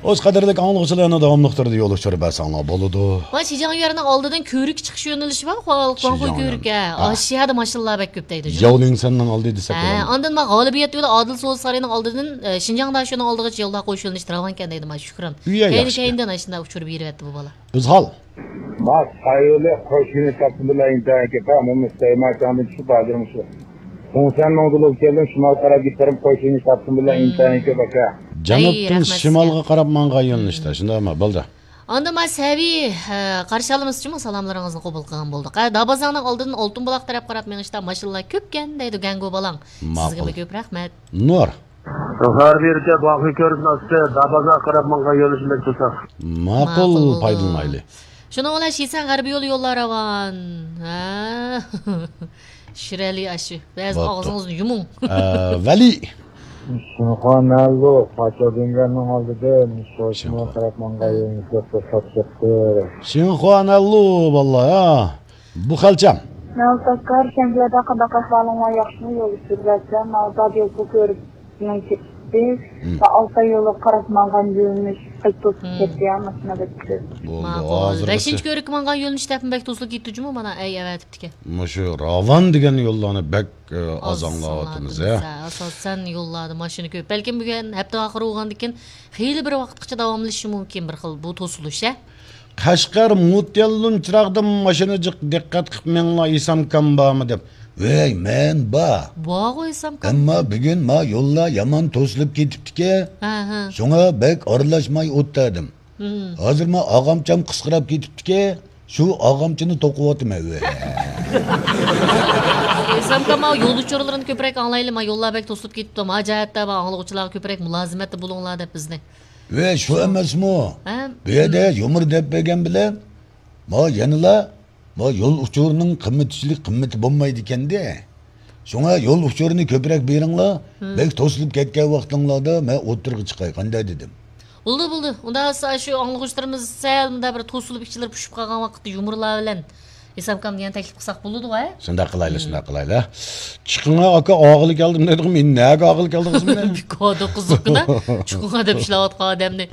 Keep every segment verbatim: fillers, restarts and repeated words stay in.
ئۆز قەدىرلىك ئاڭلىغۇچىلارنى داۋاملىق تۈردە يول ئۇچۇرى بەرسەڭلار بولىدۇ. ۋاي، شىجاڭ يۈەننىڭ ئالدىدىن كۆۋرۈك چىقىش يۆنىلىشى بار، خۇاڭخۇي شىجاڭ كۆۋرۈك، يۈەن. ھە. ئا. ئاشۇ يەردە ماشىنىلار بەك كۆپ دەيدۇ. ياۋلىڭسەننىڭ ئالدى دېسەك ھە، بولامدۇ؟ ئاندىن ما غالىبىيەت يولى ئادىل سودا سارىيىنىڭ ئالدىدىن، ئە، شىنجاڭ داشۆنىڭ ئالدىغىچە يوللار قويۇش يۆنىلىشى راۋانكەن دەيدۇ، ما شۈكران. ئۇ يا كەينى ياخشى. كەينىدىن ئاشۇنداق ئۇچۇر بېرىۋەتتى بۇ بالا. ئۆزھال. ما سايولى قوشۇنى تاپتىم بىلەن ئىنتايىن كۆپ، ھە، مۇمۇ سەيماچاڭدىن چۈشۈپ ھازىر مۇشۇ. سۇڭسەن مىڭدىلوپ كەلدىم، شىمال قارا گىتارىم قوشۇنى تاپتىم بىلەن ئىنتايىن كۆپ ئاكا. جەنۇبتىن ئەي، رەھمەت سىزگە. شىمالغا قاراپ ماڭغان يۆنىلىشتە، شۇنداقمۇ؟ بولدى. ئاندىن ما سەۋى، ھە، قارشى ئالىمىز ئۇچۇنمۇ سالاملىرىڭىزنى قوبۇل قىلغان بولدۇق. ھە، دابازاڭنىڭ ئالدىدىن ئالتۇن بۇلاق تەرەپ قاراپ مېڭىشتا ماشىنىلار كۆپكەن دەيدۇ گەڭگۇ بالاڭ. ماقۇل. سىزگىمۇ كۆپ رەھمەت. نۇر. غەربىي يۈرۈشى باقى كۆرۈنۈپ ئاستى، دابازاغا قاراپ ماڭغان يۆنىلىش بەك توسا. ماقۇل، ماقۇل بولدى. پايدىلىنايلى. شۇنىڭ بىلەن شىسەن غەربىي يولى يوللار راۋان. ھە. شىرئەلى ئاشۇ. بەزى بوپتۇ. ئاغزىڭىزنى يۇمۇڭ. ئە، ۋەلى. شىنخۇا نەلۇ، پاچا دۈڭگەننىڭ ئالدىدا، شوشما شىنخۇا. قاراپ ماڭغان يۆنىلىش بەك توسا چىقتى. شىنخۇا نەلۇ، باللا، ھە. بۇ خەلچەم. مەلۇم تاكار، شەنگىلەردە قانداق ئەھۋالىڭلار، ياخشىمۇ؟ يول ئۇچۇرى بەرسەم، ماۋۇ دادىيوكو كۆرۈكنىڭ كېتىشى ۋە ئالتاي يولىغا قاراپ ماڭغان يۆنىلىش بەك توسۇپ كەتتى، يا، ماشىنا بەك كۆپ. بولدى، ماقۇل. ھازىرغىچە. بەشىنچى كۆرۈككە ماڭغان يۆنىلىش تەرىپىمۇ بەك توسۇلۇپ كېتىپتۇ جۇمۇ، مانا، ئەي، ئەۋەتىپتىكەن. مۇشۇ راۋان دېگەن يوللارنى بەك، ئە، ئاز ئاز ئاڭلاۋاتىمىز، ئاڭلاۋاتىمىز، ھە. ھە، ئاساسەن يوللاردا ماشىنا كۆپ. بەلكىم بۈگۈن ھەپتە ئاخىرى بولغاندىكىن خېلى بىر ۋاقىتقىچە داۋاملىشىشى مۇمكىن بىر خىل بۇ توسۇلۇش، ھە. قەشقەر مۇتيەللۇن چىراغدىن ماشىنا جىق دىققەت قىلىپ مېڭىڭلار، ئىسامكام بارمۇ دەپ. ۋەي، مەن بار. بارغۇ ئىسامكام. ئەمما بۈگۈن ما يوللار يامان توسۇلۇپ كېتىپتىكەن. ھە، ھە. شۇڭا بەك ئارىلاشماي ئولتۇردۇم. ھازىر ما ئاغامچام قىسقىراپ كېتىپتىكەن. شۇ ئاغامچىنى توقۇۋاتىمەن، ۋەي. ئىسامكام، ما يول ئۇچۇرلىرىنى كۆپرەك ئاڭلايلى، ما يوللار بەك توسۇلۇپ كېتىپتۇ. ما جەھەتتە ما ئاڭلىغۇچىلارغا كۆپرەك مۇلازىمەتتە بولۇڭلار دەپ بىزنى. ۋەي، شۇ ئەمەسمۇ؟ ھە؟ بۇ يەردە يۇمۇر دەپ بەرگەن بىلەن، ما يەنىلا، ما يول ئۇچۇرىنىڭ قىممىتىچىلىك قىممىتى بولمايدىكەندە. شۇڭا يول ئۇچۇرىنى كۆپرەك بېرىڭلار، بەك توسۇلۇپ كەتكەن ۋاقتىڭلاردا مەن ئوتتۇرىغا چىقاي، قانداق دېدىم؟ بولدى، بولدى. ئۇنداق بولسا شۇ ئاڭلىغۇچىلىرىمىز سەل مۇنداق بىر توسۇلۇپ، ئىچلىرى پۇشۇپ قالغان ۋاقىتتا يۇمۇرلار بىلەن ئىسامكامنى يەنە تەكلىپ قىلساق بولىدىغۇ، ھە؟ شۇنداق قىلايلى، شۇنداق قىلايلى. چىقىڭا ئاكا، ئاغىلى كەلدىم دېدىغۇ، مەن نەگە ئاغىلى كەلدىڭىزمۇ؟ بىكاردا قىزىققىنا، چىقىڭا دەپ ئىشلەۋاتقان ئادەمنى.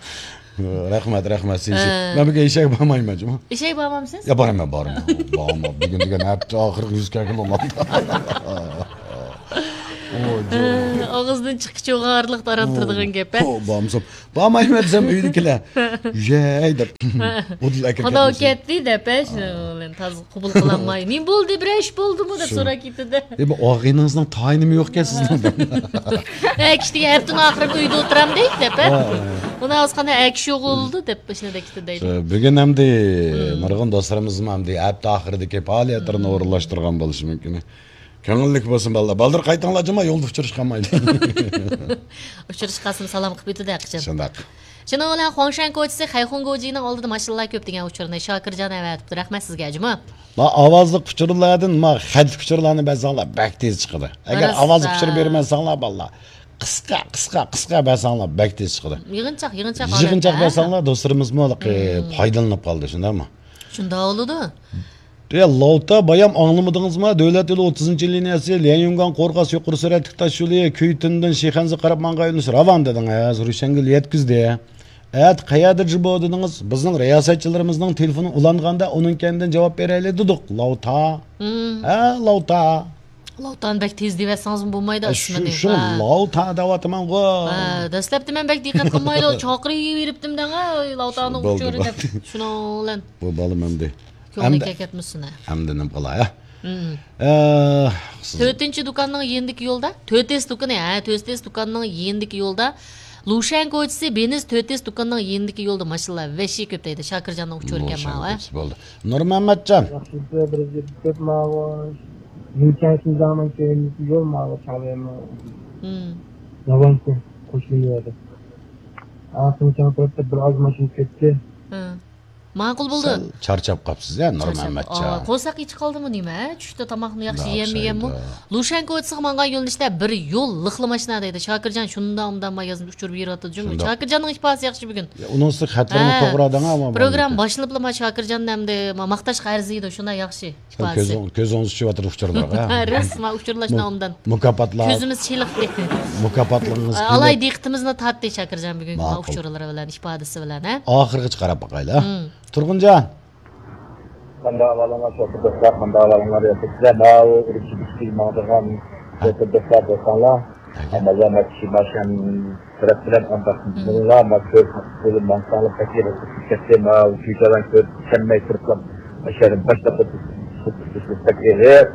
رەھمەت، رەھمەت، سىزگە. ھە. مەن بۈگۈن ئېشەككە بارمايمەن جۇمۇ. ئېشەككە بارمامسىز؟ يا، بارىمەن، بارىمەن. بارىمەن. بۈگۈن دېگەن ھەپتە ئاخىرى يۈز كەلگىلى بولمامدۇ. ئاغزىدىن چىققىچە ئارىلىقتا ئاران تۇرىدىغان گەپ، ھە؟ بارمىسام، بارمايمەن دېسەم، ئۆيدىكىلەر، يەي دەپ، ئۇدۇل ئەكىرىپ قانداق كەتمىسۇن. كەتتى دەپ، ھە، شۇنىڭ بىلەن تازا قوبۇل قىلالماي، نېمە بولدى، بىرەر ئىش بولدىمۇ دەپ سوراپ كېتىدۇ. ئە، بۇ ئاغىنىڭىزنىڭ تايىنىمۇ يوقكەن سىزنىڭ. ھە، كىشىدىكى ھەپتىنىڭ ئاخىرىدا ئۆيدە ئولتۇرامدىك دەپ، ھە؟ ھە، ھە. ئۇنىڭ ئاز قانداق ئەكىشى يوق بولدى دەپ، شۇنداق كېتىدۇ دەيدۇ. بۈگۈن ئەمدى نۇرغۇن دوستلىرىمىزمۇ ئەمدى ھەپتە ئاخىرىدىكى پائالىيەتلىرىنى ئورۇنلاشتۇرغان بولۇشى مۇمكىن. كۆڭۈللۈك بولسۇن بالىلار. بالدۇر قايتىڭلار جۇمۇ، يولدا ئۇچرىشىپ قالمايلى. ئۇچرىشىپ قالسىمۇ سالام قىلىپ ئۆتىدۇ ھەقىچان. شۇنداق. شۇنىڭ بىلەن خۇاڭشەن كوچىسى خەيخۇڭ گوجىنىڭ ئالدىدا ماشىنىلار كۆپ دېگەن ئۇچۇرنى شاكىرجان ئەۋەتىپتۇ. رەھمەت سىزگە جۇمۇ. ما ئاۋازلىق ئۇچۇرلاردىن ما خەتلىك ئۇچۇرلارنى بەرسەڭلار بەك تېز چىقىدۇ. ئەگەر ئاۋازلىق ئۇچۇر بەرمەسەڭلار بالىلار، قىسقا، قىسقا، قىسقا بەرسەڭلار بەك تېز چىقىدۇ. يىغىنچاق، يىغىنچاق ھالەتتە، ھە؟ بەرسەڭلار دوستلىرىمىزمۇ ھېلىقى پايدىلىنىپ قالىدۇ، شۇنداقمۇ؟ شۇنداق بولىدۇ. يا، لاۋتا بايام ئاڭلىمىدىڭىزما؟ دۆلەت يولى ئوتتۇزىنچى لىنىيەسى ليەنيۈنگاڭ قورغاس يۇقىرى سۈرئەتلىك تاش يولى كۈيتۈندىن شىخەنزە قاراپ ماڭغان يۆنىلىش راۋان دېدىڭىز. روشەنگۈل يەتكۈزدى. ئەتە قەيەردە جۇبو دېدىڭىز؟ بىزنىڭ رىياسەتچىلىرىمىزنىڭ تېلېفونى ئۇلانغاندا ئۇنىڭ كەينىدىن جاۋاب بېرەيلى دېدۇق. لاۋتا. ھە، لاۋتا. لاۋتانى بەك تېز دېيىۋەتسىڭىزمۇ بولمايدۇ ئە، ئىسمىنى. شۇ، شۇ ھە. لاۋتا دەۋاتىمەنغۇ. ھە، دەسلەپتە مەن بەك دىققەت قىلمايدۇ. چاقىرىۋېرىپتىم دەڭە، لاۋتانىڭ ئۇچۇرى دەپ. شۇنىڭ بىلەن. بۇ بالام ئەمدى. كۆڭلىنى كەكەتمىسۇن ھە. ئەمدى نېمە قىلاي ھە؟ ئە، سىز تۆتىنچى دۇكاننىڭ يېنىدىكى يولدا، تۆتىس دۇكىنى، ھە، تۆتىس دۇكاننىڭ يېنىدىكى يولدا، لۇشەن كوچىسى، بېنىز تۆتىس دۇكاننىڭ يېنىدىكى يولدا ماشىنىلار ۋەھشىي كۆپ دەيدۇ. شاكىرجاننىڭ ئۇچۇرى ئىكەن لۇشەن ماۋۇ، ھە. كوچىسى بولدى. نۇرمەمەتجان. ياخشىسى بىر يىل كۆپ ماۋۇ. لۇشەن شىنجاڭنىڭ كەينىدىكى يول ماۋۇ چاڭلىيەننىڭ. ھىم. داۋانكو قوشۇن يولى. ئا، شىنجاڭ تەرەپتە بىر ئاز ماشىنا كەتتى. ھە. ماقۇل بولدى. سەل چارچاپ قاپسىز، ھە، نۇرمەمەتجان؟ قورساق ئېچى قالدىمۇ نېمە؟ چۈشتە تاماقنى ياخشى يېيەلمىگەنمۇ؟ لۇشيەن كوچىسىغا ماڭغان يۆنىلىشتە بىر يول لىقلىما ماشىنا دەيدۇ. شاكىرجان شۇنداق ئۇنداق ما يازمىش ئۇچۇر بېرىۋاتىدۇ جۇمۇ. شاكىرجاننىڭ ئىپادىسى ياخشى بۈگۈن. ئۇنىڭ ئۈستىگە خەتلەرمۇ توغرا دەڭ، ئەمما پروگرامما باشلىنىپلا ما شاكىرجاننى ئەمدى ما-، ماختاشقا ئەرزىيدۇ، شۇنداق ياخشى ئىپادىسى. كۆزۈڭ-، كۆزىڭىز چۈشۈۋاتىدۇ ئۇچۇرلارغا. راست، ما ئۇچۇرلاشنا ئوبدان. مۇكاپاتلار. كۆزىمىز چېلىقتى. مۇكاپاتلىرىڭىز ئالاي دىققىتىمىزنى تارتتى شاكىرجان بۈگۈنكى ما ئۇچۇرلىرى بىلەن، ئىپادىسى بىلەن، ھە؟ ئاخىرغىچە قاراپ باقايلى، ھە؟ تۇرغۇنجان. قانداق ئەھۋالىڭلار، شوپۇر دوستلار؟ قانداق ئەھۋالىڭلار؟ ياخشىمۇ؟ سىلەر ماۋۇ ئۈرۈمچى بىخ دوستلار، شوپۇر دوستلار بولساڭلار، مازامەت شىماشان تەرەپ بىلەن ئانداق مېڭىڭلار، ما كۆرۈپ بولۇپ ماڭساڭلار بەك يېقىن كەتتى. ماۋۇ كۈيچاۋان كۆرۈپ چۈشەنمەي تۇرۇپلا، ماشىنىدىن باشلاپ بەك ئېغىر.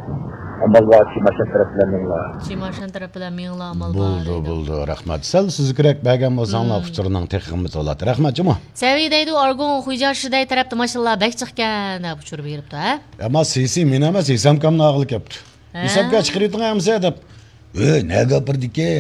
ئامال بار شىماشان تەرەپ بىلەن مېڭىڭلار. شىماشان تەرەپ بىلەن مېڭىڭلار، ئامال بار. بولدى، بولدى، رەھمەت. سەل سۈزۈكرەك بەرگەن بولساڭلار، ئۇچۇرنىڭ تېخى قىممىتى بولاتتى. رەھمەت جۇمۇ. سەۋىي دەيدۇ، ئارگۇڭ خۇيجار شىدەي تەرەپتە ماشىنىلار بەك جىقكەن دەپ ئۇچۇر بېرىپتۇ، ھە؟ ئەمما سىسى مېنى ئەمەس، ھېسامكامنى ئاغىلى كەپتۇ. ھە؟ ھېسامكا چىقىرىۋېتىڭ ئەمىسە دەپ. ئۆ، نەگە ئاپىرىدىكى؟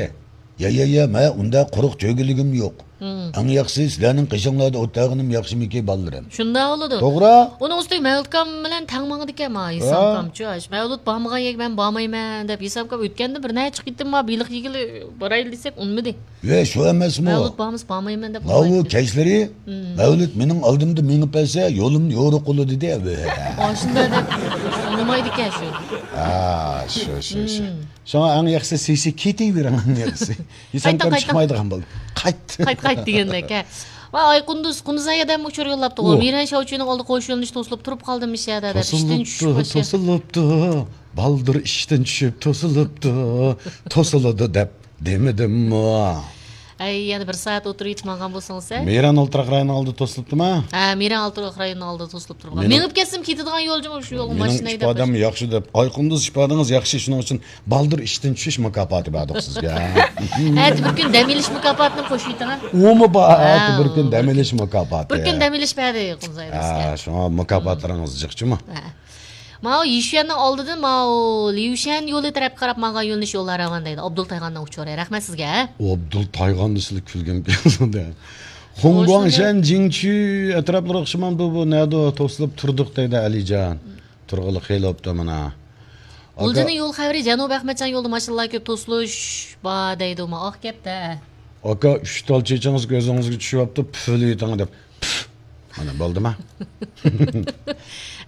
يا، يا، يا، مەن ئۇنداق قۇرۇق چۆگىلىگىم يوق. ئەڭ ياخشىسى سىلەرنىڭ قېشىڭلاردا ئولتۇرغىنىم ياخشىمىكى، بالىلىرىم؟ شۇنداق بولىدۇ. توغرا. ئۇنىڭ ئۈستىگە مەۋلۇتكام بىلەن تەڭ ماڭىدىكەن، ما، ھېسامكامچۇ. مەۋلۇت بارمىغان يەرگە مەن بارمايمەن دەپ، ھېسامكام ئۆتكەندە بىر نەچچە قېتىم ما بېلىق يېگىلى بارايلى دېسەك، ئۇنىمىدى. ۋە شۇ ئەمەسمۇ؟ مەۋلۇت بارمىسا بارمايمەن دەپ ماۋۇ كەچلىرى مەۋلۇت مېنىڭ ئالدىمدا مېڭىپ بەرسە، يولۇمنى يورۇق قىلىدۇ دېدى. ئاشۇنداق دەپ ئۇنىمايدىكەن شۇ. ھا، شۇ، شۇ، شۇ. شۇڭا ئەڭ ياخشىسى سىسى كېتىۋېرىڭ، ئەڭ ياخشىسى. ھېسامكام چىقمايدىغان بولدى. قايت. قايت، قايت دېگەندەك، ھە. ۋاي، ئايقۇندۇز، قۇندۇز ئايادەم ئۇچۇر يوللاپتۇ. مىرەن شاۋچىنىڭ ئالدى قوش يۆنىلىش توسۇلۇپ تۇرۇپ قالدىم، مىشەدە دەپ. ئىشتىن چۈشۈپ توسۇلۇپتۇ، توسۇلۇپتۇ. بالدۇر ئىشتىن چۈشۈپ توسۇلۇپتۇ. توسۇلىدۇ دەپ دېمىدىممۇ؟ ئەي، يەنە بىر سائەت ئولتۇرۇۋېتىپ ماڭغان بولسىڭىز، ھە؟ مىران ئولتۇراق رايونىنىڭ ئالدى توسۇلۇپتۇما؟ ھە، مىران ئولتۇراق رايونىنىڭ ئالدىدا توسۇلۇپ تۇرغان. مېڭىپ كەتسىمۇ كېتىدىغان يول جۇمۇ شۇ يولغا ماشىنا ھەيدەپ. مېنىڭ ئىپادەم ياخشى دەپ، ئايقۇندۇز ئىپادىڭىز ياخشى، شۇنىڭ ئۈچۈن بالدۇر ئىشتىن چۈشۈش مۇكاپاتى بەردۇق سىزگە. ئەتە بىر كۈن دەم ئېلىش مۇكاپاتىنى قوشۇۋېتىڭ، ھە؟ ئۇمۇ بار، ئەتە بىر كۈن دەم ئېلىش مۇكاپاتى. بىر كۈن دەم ئېلىش بەردى قۇمزاي بىزگە. ھە، شۇڭا مۇكاپاتلىرىڭىز جىق جۇمۇ. ھە. ماۋۇ يىشۈەننىڭ ئالدىدىن ماۋۇ ليۇشەن يولى تەرەپكە قاراپ ماڭغان يۆنىلىش يوللار راۋان دەيدۇ. ئابدۇل تايغاننىڭ ئۇچۇرى. رەھمەت سىزگە. ئابدۇل تايغان دېسىلا كۈلگۈم كېلىدۇ. خۇڭگۇاڭشەن، جىڭچۈ ئەتراپلىرى ئوخشىمامدۇ؟ بۇ نەدە توسۇلۇپ تۇردۇق دەيدۇ ئەلىجان. تۇرغىلى خېلى بوپتۇ مانا. غۇلجىنىڭ يول خەۋىرى، جەنۇبىي ئەخمەتجان يولىدا ماشىنىلار كۆپ، توسۇلۇش بار دەيدۇ. ما ئاق گەپتە. ئاكا، ئۈچ تال چېچىڭىز كۆزىڭىزگە چۈشۈۋاپتۇ، پۈفلىۋېتىڭ دەپ. پۈف. مانا بولدىما؟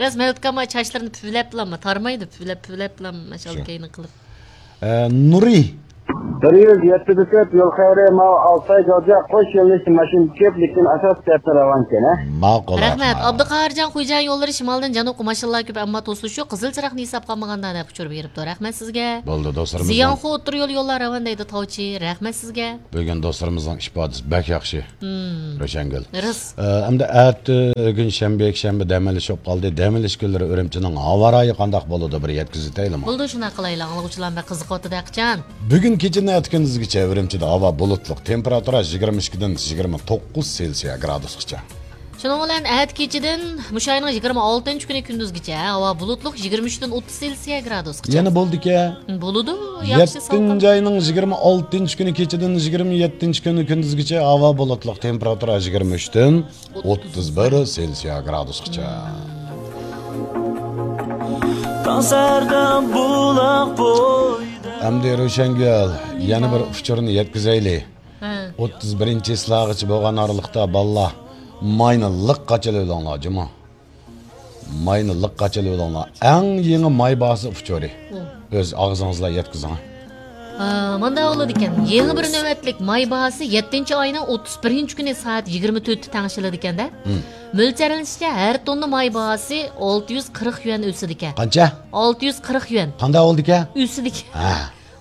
راست، مەۋلۇت ئاكا چاچلىرىنى پۈۋلەپلامما، تارمايدۇ، پۈۋلەپ، پۈۋلەپلام، ماشاللا كەينى قىلىپ. ئە، نۇرى. بىر يۈز يەتتە دېسەت يول خەۋىرى، ماۋۇ ئالتاي جاۋجا قوش يۆنىلىشتە ماشىنا كۆپ، لېكىن ئاساسلىق تەرەپتە راۋانكەن، ھە؟ ماقۇل، رەھمەت. ئابدۇقاھىرجان، خۇيجان يوللىرى شىمالدىن جەنۇبقا ماشىنىلار كۆپ، ئەمما توسۇلۇش يوق، قىزىل چىراغنى ھېسابقا ئالمىغاندا دەپ ئۇچۇر بېرىپتۇ. رەھمەت سىزگە. بولدى، دوستلىرىمىزنىڭ زىيانخۇ ئوتتۇرا يول يوللار راۋان دەيدۇ تاۋچى. رەھمەت سىزگە. بۈگۈن دوستلىرىمىزنىڭ ئىپادىسى بەك ياخشى. روشەنگۈل. راست. ئە، ئەمدى ئەتىگۈن شەنبە، يەكشەنبە دەم ئېلىش بولۇپ قالدى. دەم ئېلىش كۈنلىرى ئۈرۈمچىنىڭ ھاۋا رايى قانداق بولىدۇ، بىر يەتكۈزۈۋېتەيلىما؟ بولدى، شۇنداق قىلايلى. ئاڭلىغۇچىلار بەك قىزىقىۋاتىدۇ ھەقىچان. بۈگۈن كېچىدىن ئەتە كۈندۈزگىچە ئۈرۈمچىدە ھاۋا بۇلۇتلۇق، تېمپېراتۇرا يىگىرمە ئىككىدىن يىگىرمە توققۇز سېلسىيە گرادۇسقىچە. شۇنىڭ بىلەن ئەتە كېچىدىن مۇشۇ ئاينىڭ يىگىرمە ئالتىنچى كۈنى كۈندۈزگىچە ھاۋا بۇلۇتلۇق، يىگىرمە ئۈچتىن ئوتتۇز سېلسىيە گرادۇسقىچە. يەنە بولدىكەن. بولىدۇ، ياخشى سالقىن. يەتتىنچى ئاينىڭ يىگىرمە ئالتىنچى كۈنى كېچىدىن يىگىرمە يەتتىنچى كۈنى كۈندۈزگىچە ھاۋا بۇلۇتلۇق، تېمپېراتۇرا يىگىرمە ئۈچتىن ئوتتۇز بىر سېلسىيە گرادۇسقىچە. تاڭ سەھەردە بۇلاق بويىدا. ئەمدى روشەنگۈل، يەنە بىر ئۇچۇرنى يەتكۈزەيلى. ھە. ئوتتۇز بىرىنچى چىسلاغىچە بولغان ئارىلىقتا بالىلار ماينى لىق قاچىلىۋېلىڭلار جۇمۇ. ماينى لىق قاچىلىۋېلىڭلار. ئەڭ يېڭى ماي باھاسى ئۇچۇرى. ئۆز ئاغزىڭىز بىلەن يەتكۈزۈڭ. ھە، مانداق بولىدىكەن. يېڭى بىر نۆۋەتلىك ماي باھاسى يەتتىنچى ئاينىڭ ئوتتۇز بىرىنچى كۈنى سائەت يىگىرمە تۆتتە تەڭشىلىدىكەن-دە. مۆلچەرلىنىشىچە، ھەر توننا ماي باھاسى ئالتە يۈز قىرىق يۈەن ئۆسىدىكەن. قانچە؟ ئالتە يۈز قىرىق يۈەن. قانداق بولدىكەن؟ ئۆسىدىكەن. ھە.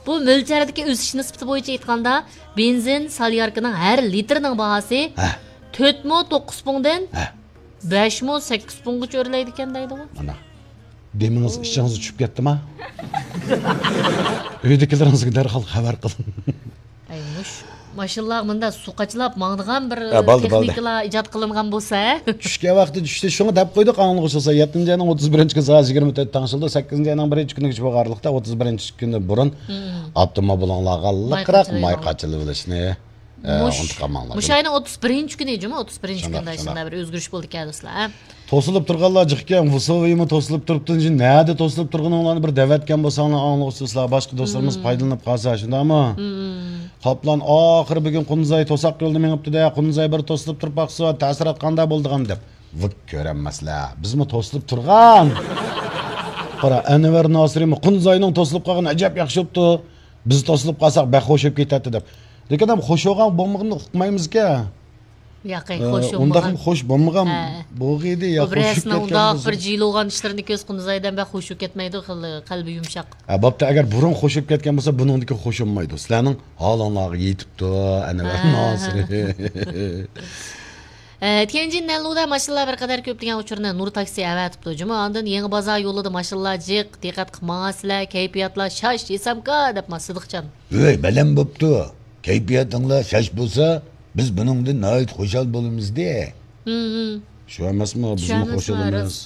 بۇ مۆلچەردىكى ئۆسۈش نىسبىتى بويىچە ئېيتقاندا، بېنزىن سالياركىنىڭ ھەر لىتىرىنىڭ باھاسى ھە. تۆت مو توققۇز پۇڭدىن ھە. بەش مو سەككىز پۇڭغىچە ئۆرلەيدىكەن دەيدىغۇ. مانا. دېمىڭىز ئىچىڭىزگە چۈشۈپ كەتتىما؟ ئۆيدىكىلىرىڭىزگە دەرھال خەۋەر قىلىڭ. ئەي، مۇش ماشىنىلارغا مۇنداق سۇ قاچىلاپ ماڭىدىغان بىر ھە، بولدى، بولدى. تېخنىكىلار ئىجاد قىلىنغان بولسا، ھە؟ چۈشكەن ۋاقتى چۈشتى، شۇڭا دەپ قويدۇق ئاڭلىغۇچىلار. يەتتىنچى ئاينىڭ ئوتتۇز بىرىنچى كۈنى سائەت يىگىرمە تۆت تەڭشىلدى، سەككىزىنچى ئاينىڭ بىرىنچى كۈنىگىچە بولغان ئارىلىقتا ئوتتۇز بىرىنچى كۈنى بۇرۇن ئاپتوموبىلىڭلارغا لىقراق ماي قاچىلىۋېلىشنى. ئە، مۇش-، ئۇنتۇپ قالماڭلار. مۇشۇ ئاينىڭ ئوتتۇز بىرىنچى كۈنى جۇمۇ، ئوتتۇز بىرىنچى شۇنداق، كۈندە شۇنداق. شۇنداق بىر ئۆزگىرىش بولدىكەن دوستلار، ھە؟ توسۇلۇپ تۇرغانلار جىق ئىكەن، ۋۇسوۋىمۇ توسۇلۇپ تۇرۇپتۇ. نەدە توسۇلۇپ تۇرغىنىڭلارنى بىر دەۋەتكەن بولساڭلار ئاڭلىغۇچى دوستلار، باشقا دوستلىرىمىز پايدىلىنىپ قالسا، شۇنداقمۇ؟ قاپلان ئاخىرى بۈگۈن قۇنزاي توساق يولدا مېڭىپتۇ-دە، قۇنزاي بىر توسۇلۇپ تۇرۇپ باقسا، تەسىرات قانداق بولىدىغان دەپ. ۋىك كۆرەلمەسلەر. بىزمۇ توسۇلۇپ تۇرغان. قارا، ئەنۋەر ناسىرىمۇ قۇنزاينىڭ توسۇلۇپ قالغىنى ئەجەب ياخشى بوپتۇ. بىز توسۇلۇپ قالساق بەك خوش بولۇپ كېتەتتى دەپ. لېكىن ھەم خوش بولغان بولمىغىنىنى ئۇقمايمىزكەن. ياقى، ئە، خوش ئۇنداقمۇ بولمىغان. خوش بولمىغان ھە. بولغىيدى يا بۇ خوش بولۇپ رەسمىنىڭ كەتكەن ئۇنداق بولسا. بىر جىلىغان ئىشلىرىنى كۆز قۇنزايدىن بەك خوش بولۇپ كەتمەيدۇ، خېلى قەلبى يۇمشاق. ھە، بوپتۇ، ئەگەر بۇرۇن خوش بولۇپ كەتكەن بولسا، بۇنىڭدىكى خوش بولمايدۇ. سىلەرنىڭ ھالىڭلارغا يېتىپتۇ، ئەنۋەر ھە. ناسىرى. ئە، تيەنجىن نەنلۇدا ماشىنىلار بىر قەدەر كۆپ دېگەن ئۇچۇرنى نۇر تاكسى ئەۋەتىپتۇ. جۇمۇ ئاندىن يېڭى بازار يولىدا ماشىنىلار جىق، دىققەت قىلماڭا سىلەر، كەيپىياتلار شاش، ھېسامكا دەپ ما سىدىقجان. ۋەي، بەلەن بوپتۇ. كەيپىياتىڭلار شاش بولسا، بىز بۇنىڭدىن ناھايىتى خۇشال بولىمىزدە. ھىم، ھىم. شۇ ئەمەسمۇ؟ شۇ بىزمۇ ئەمەسمۇ، خۇشال ئەمەس. راست.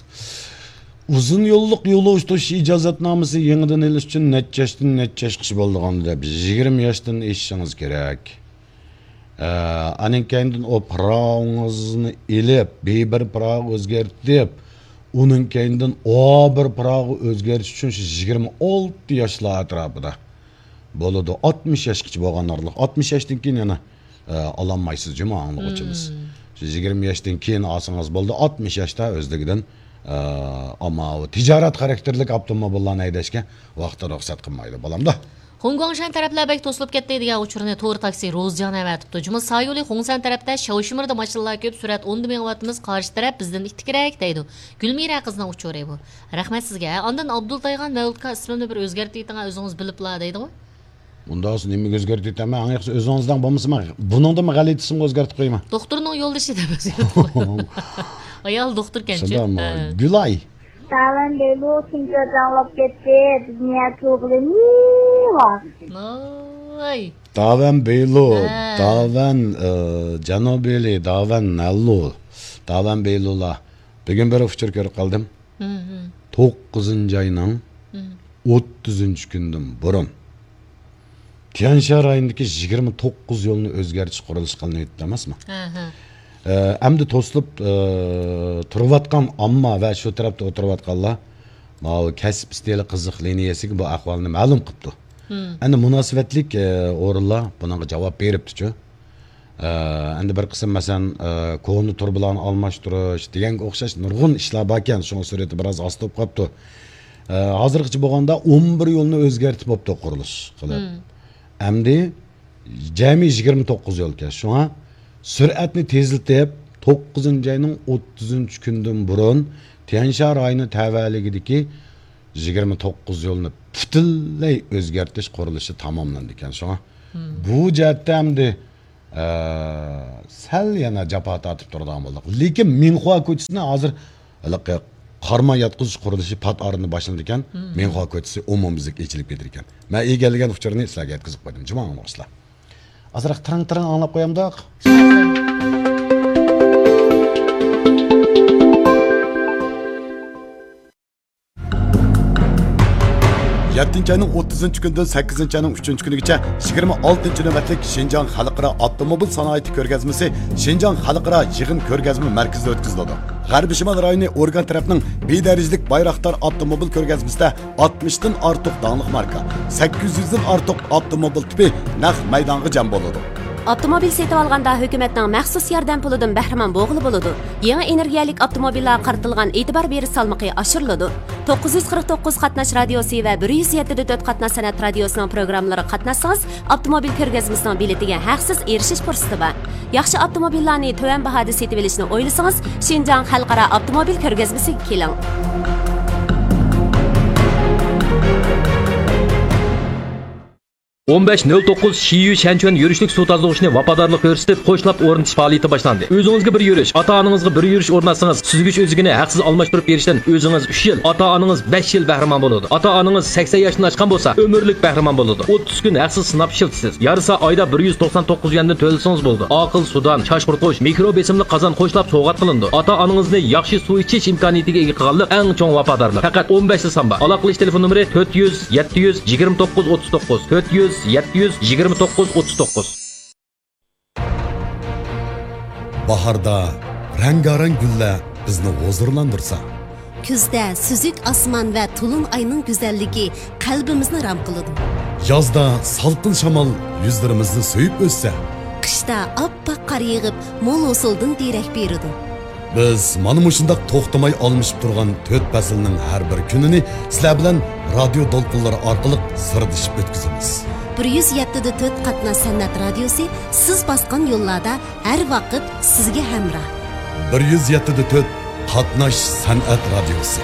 ئۇزۇن يوللۇق يولۇغا تۇتۇش ئىجازەتنامىسى يېڭىدىن ئېلىش ئۈچۈن نەچچە ياشتىن نەچچە ياشقىچە بولىدىغان دەپ، يىگىرمە ياشتىن ئېشىشىڭىز كېرەك. ئە، ئانىڭ كەينىدىن ئۇ پىراۋىڭىزنى ئېلىپ، بىر بىر پىراۋغا ئۆزگەرتىپ، ئۇنىڭ كەينىدىن ئۇ بىر پىراۋغا ئۆزگەرتىش ئۈچۈن شۇ يىگىرمە ئالتە ياشلار ئەتراپىدا بولىدۇ. ئاتمىش ياشقىچە بولغان ئارىلىق. ئاتمىش ياشتىن كېيىن يەنە، ئە، ئالالمايسىز جۇمۇ ئاڭلىغۇچىمىز. مم. شۇ يىگىرمە ياشتىن كېيىن ئالسىڭىز بولىدۇ. ئاتمىش ياشتا ئۆزلۈكىدىن، ئە، ئامما تىجارەت خاراكتېرلىك ئاپتوموبىللارنى ھەيدەشكە ۋاقتى رۇخسەت قىلمايدۇ، بالامدا. خۇڭگۇاڭشەن تەرەپلەر بەك توسۇلۇپ كەتتى دېگەن ئۇچۇرنى تور تاكسى روزجان ئەۋەتىپتۇ. جۇمۇ سايولى خۇڭسەن تەرەپتە شاۋشىمىردا ماشىنىلار كۆپ، سۈرئەت ئوندا مېڭىۋاتىمىز، قارشى تەرەپ بىزدىن ئىتتىكرەك دەيدۇ. گۈلمىرە قىزنىڭ ئۇچۇرى بۇ. رەھمەت سىزگە. ئاندىن ئابدۇلتايغان مەۋلۇتكا ئىسمىمنى بىر ئۆزگەرتىۋېتىڭ، ئۆزىڭىز بىلىپلا دەيدىغۇ. ئۇنداق بولسا نېمىگە ئۆزگەرتىۋېتەمەن؟ ئەڭ ياخشىسى ئۆزىڭىزدىن بولمىسىمۇ، بۇنىڭدىنمۇ غەلىتىسىمۇ ئۆزگەرتىپ قويىمەن. دوختۇرنىڭ يولدىشى دەپ ئۆزگەرتىپ قويۇڭ. ئايال دوختۇركەنچۇ. شۇنداقمۇ؟ ھە. گۈلاي. تاۋەن بېلۇ شۇنچە جاڭلاپ كەتتى، بىز نىيەت قىلغىلى نېمە؟ ۋاي. تاۋەن بېلۇ، ھە. تاۋەن، ئى، جەنۇبىيلى، تاۋەن نەللۇ، تاۋەن بېلۇلا. بۈگۈن بىر ئۇچۇر كۆرۈپ قالدىم. ھىم، ھىم. توققۇزىنچى ئاينىڭ ھىم. ئوتتۇزىنچى كۈنىدىن بۇرۇن تيەنشان رايونىدىكى يىگىرمە توققۇز يولنى ئۆزگەرتىش قۇرۇلۇشى قىلىنىۋېتىپتۇ ئەمەسمۇ؟ ئەھە. ئە، ئەمدى توسۇلۇپ، ئە، تۇرۇۋاتقان ئامما ۋە شۇ تەرەپتە ئولتۇرۇۋاتقانلار ماۋۇ كەسىپ ئىستىلى قىزىق لىنىيەسىگە بۇ ئەھۋالنى مەلۇم قىپتۇ. ھىم. ئەمدى مۇناسىۋەتلىك، ئە، ئورۇنلار بۇنىڭغا جاۋاب بېرىپتىچۇ. ئە، ئەمدى بىر قىسىم، مەسىلەن، ئە، كونا تۇرۇبىلارنى ئالماشتۇرۇش دېگەنگە ئوخشاش نۇرغۇن ئىشلار باركەن، شۇڭا سۈرئىتى بىراز ئاستا بولۇپ قاپتۇ. ئە، ھازىرغىچە بولغاندا ئون بىر يولنى ئۆزگەرتىپ بوپتۇ قۇرۇلۇش قىلىپ. مم. ئەمدى جەمئىي يىگىرمە توققۇز يولكەن. شۇڭا سۈرئەتنى تېزلىتىپ، توققۇزىنچى ئاينىڭ ئوتتۇزىنچى كۈنىدىن بۇرۇن تيەنشان رايونى تەۋەلىكىدىكى يىگىرمە توققۇز يولنى پۈتۈنلەي ئۆزگەرتىش قۇرۇلۇشى تاماملاندىكەن. شۇڭا مم. بۇ جەھەتتە ئەمدى ئە، سەل يەنە جاپا تارتىپ تۇرىدىغان بولدۇق. لېكىن مىڭخۇا كوچىسىنى ھازىر ھېلىقى قارما ياتقۇزۇش قۇرۇلۇشى پات ئارىدا باشلىنىدىكەن. مم. مىڭخۇا كوچىسى ئومۇميۈزلۈك ئېچىلىپ كېتىدىكەن. مەن ئىگىلىگەن ئۇچۇرنى سىلەرگە يەتكۈزۈپ قويدۇم. جۇمۇ ئاڭلىغۇچىلار. ئازراق تىرىڭ-تىرىڭ ئاڭلاپ قويامدۇق. يەتتىنچى ئاينىڭ ئوتتۇزىنچى كۈنىدىن سەككىزىنچى ئاينىڭ ئۈچىنچى كۈنىگىچە يىگىرمە ئالتىنچى نۆۋەتلىك شىنجاڭ خەلقئارا ئاپتوموبىل سانائىتى كۆرگەزمىسى شىنجاڭ خەلقئارا يىغىن كۆرگەزمە مەركىزىدە ئۆتكۈزۈلىدۇ. غەربىي شىمال رايونى ئورگان تەرەپنىڭ بىر دەرىجىلىك بايراقدار ئاپتوموبىل كۆرگەزمىسىدە ئاتمىشتىن ئارتۇق داڭلىق ماركا، سەككىز يۈزدىن ئارتۇق ئاپتوموبىل تىپى نەق مەيدانغا جەم بولىدۇ. ئاپتوموبىل سېتىۋالغاندا ھۆكۈمەتنىڭ مەخسۇس ياردەم پۇلىدىن بەھرىمەن بولغىلى بولىدۇ. يېڭى ئېنېرگىيەلىك ئاپتوموبىللارغا قارىتىلغان ئېتىبار بېرىش سالمىقى ئاشۇرۇلىدۇ. توققۇز يۈز قىرىق توققۇز قاتناش رادىيوسى ۋە بىر يۈز يەتتە دە تۆت قاتناش سەنئەت رادىيوسىنىڭ پروگراممىلىرىغا قاتناشسىڭىز، ئاپتوموبىل كۆرگەزمىسىنىڭ بېلىتىگە ھەقسىز ئېرىشىش پۇرسىتى بار. ياخشى ئاپتوموبىللارنى تۆۋەن باھادا سېتىۋېلىشنى ئويلىسىڭىز، شىنجاڭ خەلقئارا ئاپتوموبىل كۆرگەزمىسىگە كېلىڭ. ئون بەش نۆل توققۇز شىيۈ شەنچۈەن يۈرۈشلۈك سۇ تازىلىغۇچنى ۋاپادارلىق كۆرسىتىپ، قوشلاپ ئورنىتىش پائالىيىتى باشلاندى. ئۆزىڭىزگە بىر يۈرۈش، ئاتا-ئانىڭىزغا بىر يۈرۈش ئورناتسىڭىز، سۈزگۈچ ئۆزىكىنى ھەقسىز ئالماشتۇرۇپ بېرىشتىن ئۆزىڭىز ئۈچ يىل، ئاتا-ئانىڭىز بەش يىل بەھرىمەن بولىدۇ. ئاتا-ئانىڭىز سەكسەن ياشتىن ئاشقان بولسا، ئۆمۈرلۈك بەھرىمەن بولىدۇ. ئوتتۇز كۈن ھەقسىز سىناپ ئىشلىتىسىز. يارىسا ئايدا بىر يۈز توقسان توققۇز يۈەندىن تۆلىسىڭىز بولىدۇ. ئاقىل سۇدان، چاچ قۇرۇتقۇچ، مىكرو بېسىملىق قازان قوشلاپ سوۋغات قىلىنىدۇ. ئاتا-ئانىڭىزنى ياخشى سۇ ئىچىش ئىمكانىيىتىگە ئىگە قىلغانلىق ئەڭ چوڭ ۋاپادارلىق. پەقەت ئون بەشلا سان بار. ئالاقىلىشىش تېلېفون نومۇرى تۆت يۈز، يەتتە يۈز، يىگىرمە توققۇز، ئوتتۇز توققۇز، تۆت يۈز، يەتتە يۈز، يىگىرمە توققۇز، ئوتتۇز توققۇز. باھاردا رەڭگارەڭ گۈللەر بىزنى ھۇزۇرلاندۇرسا، كۈزدە سۈزۈك ئاسمان ۋە تولۇن ئاينىڭ گۈزەللىكى قەلبىمىزنى رام قىلىدۇ. يازدا سالقىن شامال يۈزلىرىمىزنى سۆيۈپ ئۆتسە، قىشتا ئاپئاق قار يېغىپ، مول ھوسۇلدىن دېرەك بېرىدۇ. بىز مانا مۇشۇنداق توختىماي ئالمىشىپ تۇرغان تۆت پەسىلنىڭ ھەر بىر كۈنىنى سىلەر بىلەن رادىيو دولقۇنلىرى ئارقىلىق سىردىشىپ ئۆتكۈزىمىز. بىر يۈز يەتتە دە تۆت قاتناش سەنئەت رادىيوسى سىز باسقان يوللاردا ھەر ۋاقىت سىزگە ھەمراھ. بىر يۈز يەتتە دە تۆت قاتناش سەنئەت رادىيوسى.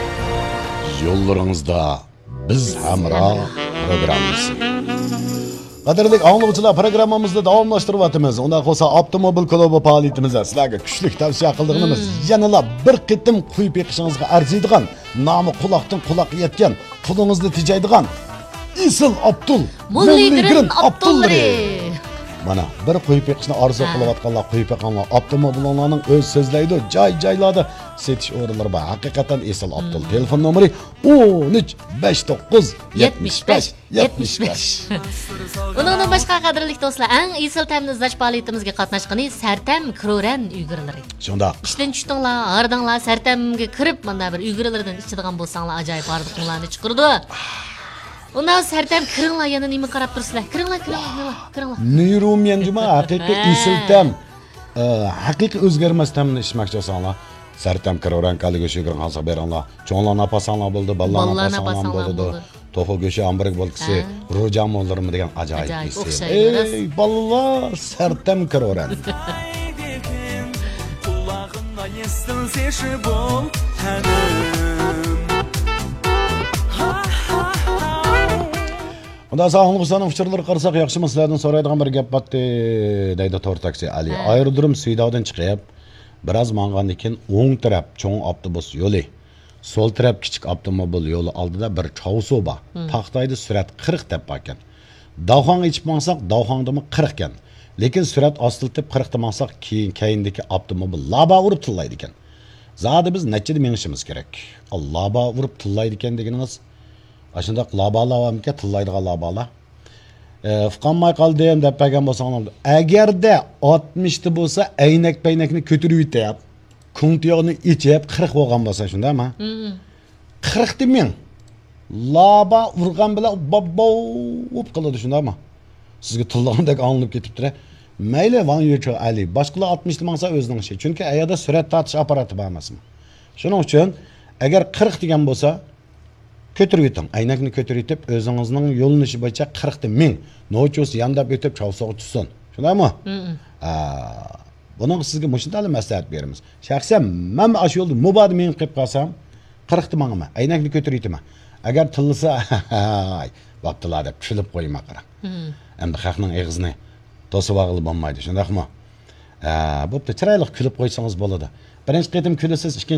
يوللىرىڭىزدا بىز ھەمراھ پروگراممىسى. قەدىرلىك ئاڭلىغۇچىلار، پروگراممىمىزنى داۋاملاشتۇرۇۋاتىمىز. ئۇنداق بولسا، ئاپتوموبىل كلۇبى پائالىيىتىمىزدە سىلەرگە كۈچلۈك تەۋسىيە قىلىدىغىنىمىز، يەنىلا بىر قېتىم قويۇپ بېقىشىڭىزغا ئەرزىيدىغان، نامى قۇلاقتىن قۇلاققا يەتكەن، پۇلىڭىزنى تېجەيدىغان ئېسىل ئابدۇل، موللىگرىن ئابدۇللىرى. مانا، بىر قويۇپ بېقىشنى ئارزۇ قىلىۋاتقانلار قويۇپ بېقىڭلار. ئاپتوموبىلىڭلارنىڭ ئۆزى سۆزلەيدۇ، جاي-جايلاردا سېتىش ئورۇنلىرى بار. ھەقىقەتەن ئېسىل ئابدۇل. تېلېفون نومۇرى ئون ئۈچ، بەش توققۇز، يەتمىش بەش، يەتمىش بەش. ئۇنىڭدىن باشقا، قەدىرلىك دوستلار، ئەڭ ئېسىل تەمنى ئىزدەش پائالىيىتىمىزگە قاتناشقىنى سەرتەم كرورەن ئۈگرىلىرى. شۇنداق. ئىشتىن چۈشتۈڭلار، ھاردىڭلار، سەرتەمگە كىرىپ، مانا بىر ئۈگرىلىرىدىن ئىچىدىغان بولساڭلار، ئاجايىپ ھاردۇقۇڭلارنى چىقىرىدۇ. ئۇنداق سەرتەم كىرىڭلار، يەنە نېمە قاراپ تۇرىسىلەر؟ كىرىڭلار، كىرىڭلار، كىرىڭلار، كىرىڭلار. نېرۇميەنجىما ھەقىقىي ھە. ئېسىل تەم. ئە، ھەقىقىي ئۆزگەرمەس تەمنى ئىچمەكچى بولساڭلار، سەرتەم كرورەن كالىگۈشى كىرىڭ قالسا بېرىڭلار. چوڭلارنى ئاپارساڭلار بولىدۇ، بالىلارنى بالىلارنى ئاپارساڭلار ئاپارساڭلار بولىدۇ. بولىدۇ. توخۇ گۆشى، ھامبۇرگ بولكىسى، ھە. روجا موللىرىمۇ دېگەن ئاجايىپ ئاجايىپ، ئېسىل. ئوخشايمىز. ئەي، بالىلار، سەرتەم كرورەن. قۇلاغىمدا يەسسىلسە شۇ بول تەنىم. ئۇنداق ساغلام قۇرساقنىڭ ئۇچۇرلىرىغا قارىساق ياخشىمۇ؟ سىلەردىن سورايدىغان بىر گەپ باتتى، دەيدۇ تور تاكسى ئەلى. ھە. ئايرودروم سۈيداۋدىن چىقىپ، بىراز ماڭغاندىن كېيىن ئوڭ تەرەپ چوڭ ئاپتوبۇس يولى، سول تەرەپ كىچىك ئاپتوموبىل يولى ئالدىدا بىر چاۋسۇ بار. مم. تاختايدا سۈرئەت قىرىق دەپ باركەن. داۋخاڭ ئېچىپ ماڭساق، داۋخاڭدىمۇ قىرىقكەن. لېكىن سۈرئەت ئاستىلىتىپ قىرىقتا ماڭساق، كېيىن، كەينىدىكى ئاپتوموبىل لابا ئۇرۇپ تىللايدىكەن. زادى بىز نەچچىدە مېڭىشىمىز كېرەك؟ لابا ئۇرۇپ تىللايدىكەن دېگىنىڭىز، ئاشۇنداق لابالار بارمىكەن، تىللايدىغان لابالار؟ ئە، ئۇقالماي قالدىم دەپ بەرگەن بولساڭلار، ئەگەردە ئاتمىشتا بولسا، ئەينەك پەينەكنى كۆتۈرۈۋېتىپ، كۇڭتىيوغنى ئېچىپ، قىرىق بولغان بولسا، شۇنداقمۇ؟ مم. قىرىقتا مىڭ. لابا ئۇرغان بىلەن باببوپ قىلىدۇ، شۇنداقمۇ؟ سىزگە تىللىغاندەك ئاڭلىنىپ كېتىپتۇ. مەيلى، ۋاڭ يۈچو ئەلى. باشقىلار ئاتمىشتا ماڭسا، ئۆزىنىڭ ئىشى. چۈنكى ئەيەردە سۈرئەت تارتىش ئاپپاراتى بار ئەمەسمۇ؟ شۇنىڭ ئۈچۈن، ئەگەر قىرىق دېگەن بولسا، كۆتۈرۈۋېتىڭ. ئەينەكنى كۆتۈرۈۋېتىپ، ئۆزىڭىزنىڭ يۆنىلىشى بويىچە قىرىقتا مىڭ. نوچۇسى يانداپ ئۆتۈپ، چاۋسۇغا چۈشسۇن. شۇنداقمۇ؟ مم. ئا، بۇنىڭغا سىزگە مۇشۇنداقلا مەسلىھەت بېرىمىز. شەخسەن مەن ئاشۇ يولدا مۇبادا مېڭىپ قېلىپ قالسام، قىرىقتا ماڭىمەن، ئەينەكنى كۆتۈرۈۋېتىمەن. ئەگەر تىللىسا، ھاي، بوپتىلا دەپ كۈلۈپ قويىمەن، قاراڭ. مم. ئەمدى خەقنىڭ ئېغىزىنى توسۇۋالغىلى بولمايدۇ، شۇنداقمۇ؟ ھە، بوپتۇ، چىرايلىق كۈلۈپ قويسىڭىز بولىدۇ. بىرىنچى قېتىم كۈلىسىز، ئىككىنچى